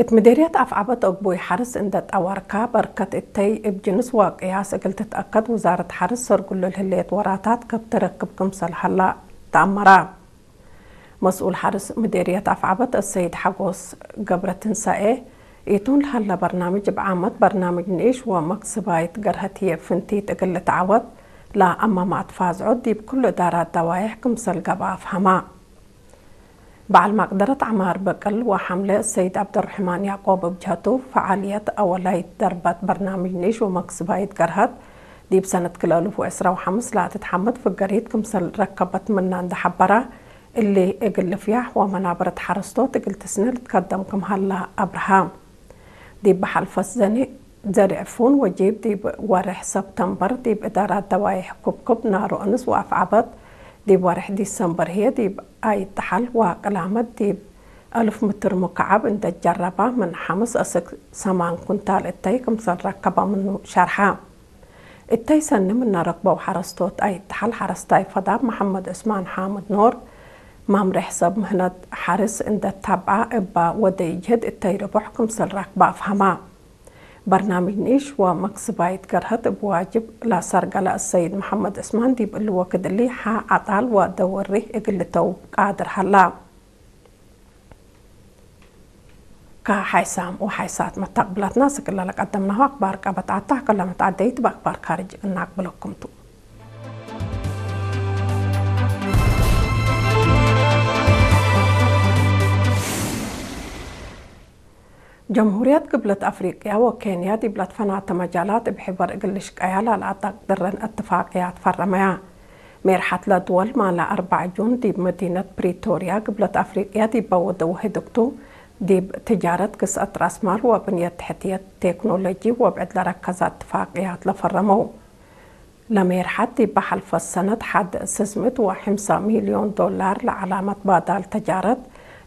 እት ምዴርየት ኣፍዓበት ኦግቦይ ሓርስ እንደ ጣዋርካ በርከት እተይ እብ ጅንስ ዋቅያስ እግል ትትኣከድ ውዛረት ሓርስ ሰርጉሉ ልህሌት ወራታት ከብ ትረክብ ክምሰል ሀላ ተኣመራ። መስኡል ሓርስ ምዴርየት ኣፍዓበት እሰይድ ሓጎስ ገብረ ትንሳኤ፣ ኢቱን ለሀለ በርናምጅ እብ ዓመት በርናምጅ ንኢሽ ወመክስባይት ገርሀት ህዬ ፍንቲት እግል ልትዓወት ለአማማት ፋዝዖት ዲብ ኩሉ እዳራት ደዋይሕ ክምሰል ገብአ አፍሀማ። በዓል ማቅደረት ዐማር በቅል ወሐምለ ሰይድ ዐብደርሕማን ያቆብ እብ ጀሀቱ፣ ፈዓልየት አወላይት ደርበት በርናምጅ ንኢሽ ወመክስባይት ገርሀት ዲብ ሰነት ክልኤ አልፍ ወዕስራ ወሐምስ ለአትትሐመድ ፍገሪት ክምሰል ረከበት ምና እንደ ሐበራ፣ እሊ እግል ልፍያሕ ወመናበረት ሐረስቶት እግል ትስነ ልትከደም ክም ሀላ አብርሃ። ዲብ በሐልፈት ዘኒ ዘርዕ ፉን ወጂብ ዲብ ወርሕ ሰብተምበር ዲብ እዳራት ደዋይሕ ኩብኩብ ናሮ እንስ ወአፍዓበት፣ ዲብ ወርሕ ዲሰምበር ህዬ ዲብ አይ ጠሐል ወቅላመት ዲብ አልፍ ምትር ሙከዓብ እንደ ጀረባ ምን ሐምስ አስክ ሰማን ኩንታል እተይ ክምሰል ረከበ ምኑ ሸርሐ። እተይ ሰኒ ምነ ረክበው ሐረስቶት አይ ጠሐል ሐረስታይ ፈዳብ መሐመድ ዑስማን ሓምድ ኖር፣ ማምሬሕ ሰብ ምህነት ሐርስ እንደ ታብዐ እባ ወደይ ጅህድ እተይ ርቡሕ ክምሰል ረክበ አፍሀማ። በርናምጅ ንኢሽ ወመክስባይት ገርሀት እብ ዋጅብ ለሰርገለ አሰይድ መሐመድ ዑስማን ዲብ እሊ ወክድ እሊ ሐ ዐጣል ወደወሪህ እግል ልተውብ ቃድር ሀላ። ከሐይሳም ወሐይሳት መተቅብላትና ስክለ ለቀደምናሁ አክባር ቀበት አታ ከለመት አደይት በአክባር ካርጅ እናቅብለኩም ቱ። ጀምሁርየት ግብለት አፍሪቅያ ወኬንያ ዲብ ለትፈናተ መጃላት እብ ሕበር እግል ልሽቀያ ላለአጠቅድረን እትፋቅያት ፈረመያ። ሜርሐት ለድወል ማለ አርበዕ ጁን ዲብ መዲነት ፕሪቶርያ ግብለት አፍሪቅያ ዲብ በወደው ህድግቱ ዲብ ትጃረት፣ ግስአት ራስማል ወብንየት ትሕትየት ቴክኖሎጂ ወብዕድ ለረከዘ እትፋቅያት ለፈረመው። ለሜርሐት ዲብ ሐልፈት ሰነት ሐድ ስስምት ወሐምሳ ሚልዮን ዶላር ለዐላመት ባዳል ተጃረት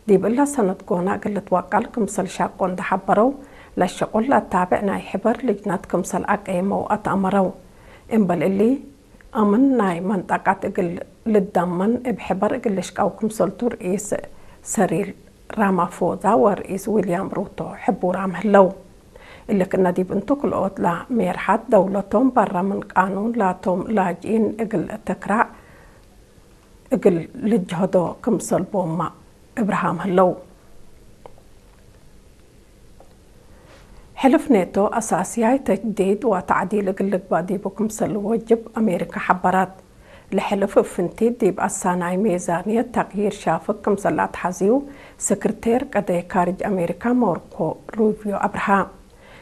ዲብ እለ ሰነት ጎና እግል ልትወቀል ክምሰል ሻቆ እንደ ሐበረው፣ ለሸቁል ለአታብዕ ናይ ሕበር ልጅነት ክምሰል አቀየመው አትአመረው። እምበል እሊ፣ አምን ናይ መንጠቀት እግል ልደመን እብ ሕበር እግል ልሽቀው ክምሰልቱ ርኢስ ሰሪል ራማፎዛ ወርኢስ ዊልያም ሩቶ ሕቡራም ህለው። እሊ ክእነ ዲብ እንቱ ክልኦት ለሜርሐት ደውለቶም በረ ምን ቃኑን ላቶም ላጅኢን እግል ትክራዕ እግል ልጅሀዶ ክምሰል ቦማ እብርሃም ህለው። ሕልፍ ኔቶ አሳስያይ ተጅዲድ ወተዕዲል እግል ልግባእ ዲቡ ክምሰል ወጅብ አሜሪካ ሐበራት። ለሕልፍ እብ ፍንቲት ዲብ አሳናይ ሜዛንየት ተቅይር ሻፍግ ክምሰል አትሐዝዩ፣ ስክርቴር ቀደይ ካርጅ አሜሪካ ማርኮ ሩቢዮ አብርሃ።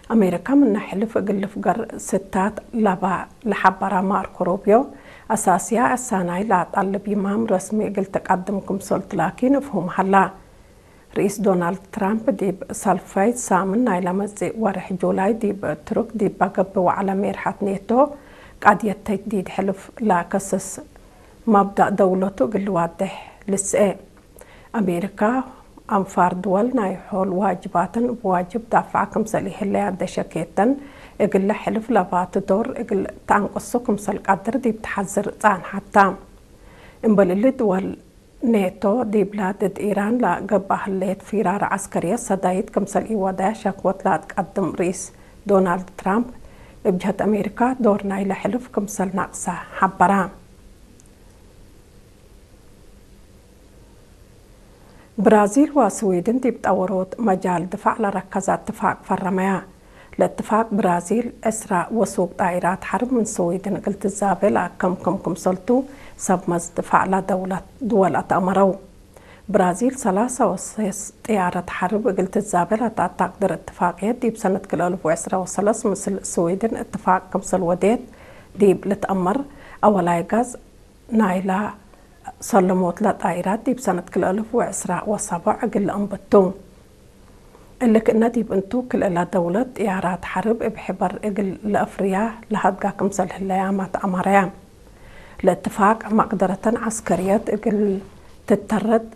አሜሪካ ምነ ሕልፍ እግል ልፍገር ስታት ለባ ለሐበራ ማርኮ ሩቢዮ፣ አሳስያ አሳናይ ለአጠልብ ይማም ረስሚ እግል ትቀድም ክምሰልቱ ላኪን እፍሁም ሀላ። ርኢስ ዶናልድ ትራምፕ ዲብ ሳልፋይ ሳምን ናይ ለመጽእ ወርሕ ጁላይ ዲብ ቱርክ ዲብ በገብእ ወዕለ ሜርሐት ኔቶ ቃድየት ተጅዲድ ሕልፍ ለከስስ መብዳእ ደውለቱ እግል ልዋድሕ ልስኤ። አሜሪካ አንፋር ድወል ናይ ሖል ዋጅባተን እብ ዋጅብ ዳፍዓ ክምሰል ኢህለያ ደሸኬተን እግለ ሕልፍ ለባቱ ዶር እግል ተአንቅሱ ክምሰል ቀድር ዲብ ተሐዝር ጻንሐታ። እምበል እሊ ድወል ኔቶ ዲብላ ድድ ኢራን ለገብአ ህሌት ፊራር ዐስከርየት ሰዳይት ክምሰል ኢወደያ ሸክወት ለአትቀድም ርኢስ ዶናልድ ትራምፕ፣ እብ ጀህት አሜሪካ ዶር ናይለ ሕልፍ ክምሰል ናቅሰ ሐበራ። ብራዚል ወስዊድን ዲብ ጠወሮት መጃል ድፋዕ ለረከዘ እትፋቅ ፈረመያ። ለእትፋቅ ብራዚል ዕስራ ወሱቅ ጣይራት ሐርብ ምን ስዊድን እግል ትዛቤ ለአከምክም ክምሰልቱ ሰብ መዝ ድፋዕ ለደውለት ድወል አትአመረው። ብራዚል ሰላሳ ወሰስ ጥያረት ሐርብ እግል ትዛቤ ለተአታቅድር እትፋቅየት ዲብ ሰነት ክልኤ አልፍ ወዕስራ ወሰለስ ምስል ስዊድን እትፋቅ ክምሰል ወዴት ዲብ ልትአመር አወላይ ጋዝ ናይላ ሰለሞት ለጣይራት ዲብ ሰነት ክልኤ አልፍ ወዕስራ ወሰቦዕ እግል ለአንብቱ። እሊ ክእነ ዲብ እንቱ ክልኤላ ደውለት ጥያራት ሐርብ እብ ሕበር እግል ለአፍርያ ለሀድጋ ክምሰል ህለያማ ተአማረያ። ለእትፋቅ መቅደረተን ዐስከርየት እግል ትተረድ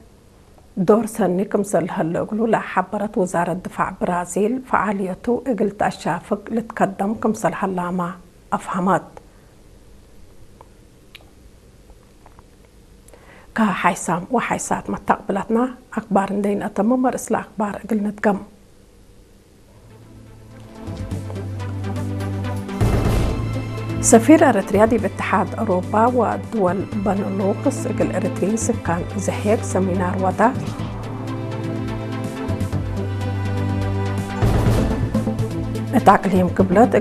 ዶር ሰኒ ክምሰል ለሀለ እግሉ ለሐበረት ውዛረት ድፋዕ ብራዚል፣ ፈዓልየቱ እግል ተአሻፍግ ልትከደም ክምሰል ሀላማ አፍሀመት። ከሐይሳም ወሐይሳት መታቅብላትና አክባር እንደይን አተምም መርእስ ለአክባር እግል ንድገም። سفير أريتريا ዲብ እትሓድ ኣውሮፓ ወድወል በነሉክስ እግል ኤረትርይን ስካን ዘሄግ ሰሚናር ወዳ። እት ኣቅሊም ክብለት